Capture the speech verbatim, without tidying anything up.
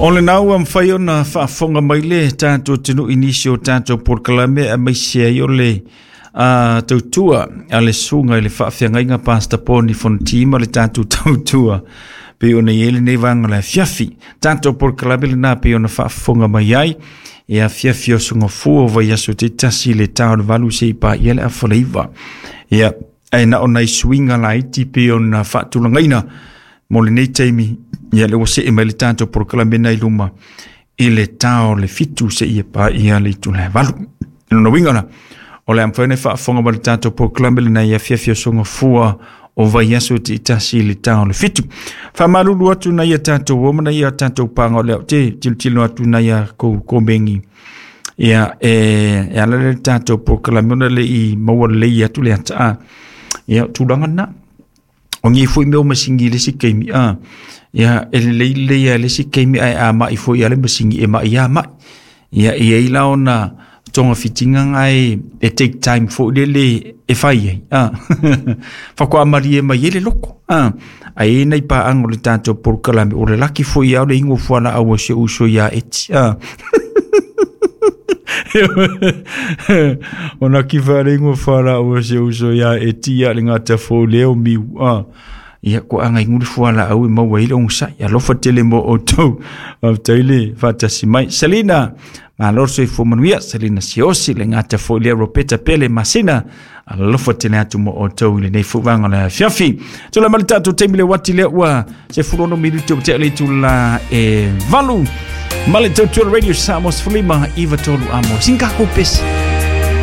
O le nau am whai ona whaafonga mai le tātou tenu inisi o tātou porokalame a mai se ai o le uh, tautua a le sunga i le whaawhiangainga Pastor Poni Fontima le tātou tautua pe ona i ele nei vanga le fiafi. Tātou porokalame le nā pe ona whaafonga mai ai e a fiafi o sunga fua vai aso te tasi le tau le valu se i pa i ele a whaleiwa. Ia, e na ona i suinga la iti pe ona whaatulangaina mo le nei taimi ia le ua see mai le tatou porokalame i luma i le tao le fitu se ia pa ia le itu le valu. I lona uiga la o le amfai ona faafofoga ma le tatou porokalame lenei afiafi o sogafua o vaiaso tiitasi i le tao le fitu. Faamalulu atu nai a tatou o ma nai a tatou paga o lea ou te tilotilo atu nai a kou komegi ia e, e ala le tatou porokalame ona leʻi maua lelei atu le ataā ia o tulaga lena. O ngi foi mea o masingi le si keimi a ia e lelei lelei a le si keimi ae a mai foi a le masingi e mai a mai ia e ai la ona tonga fitinga ngai e take time foi le le e fai ai a fakoa marie mai e le loko a ai nei pa ango le tatou porokalame o le laki foi au le ingo fuala au se uso ia eti a ona ki wharengo whara o se uso ia e tia le ngata fo leo miu a ia ko anga inguli fuala au e maua ile onsa ia lofa tele mo o tau taile fatasi mai Selina malo so fo manuia Selina Siosi le ngata fo le Ropeta Pele Masina alofa tele atu mo o tau le nei fuanga la fiafi tula malita to temile wati le ua se fulono minuto te le tula e valu male tau Radio Samos Fulima iva tolu amo sinka ko pesi.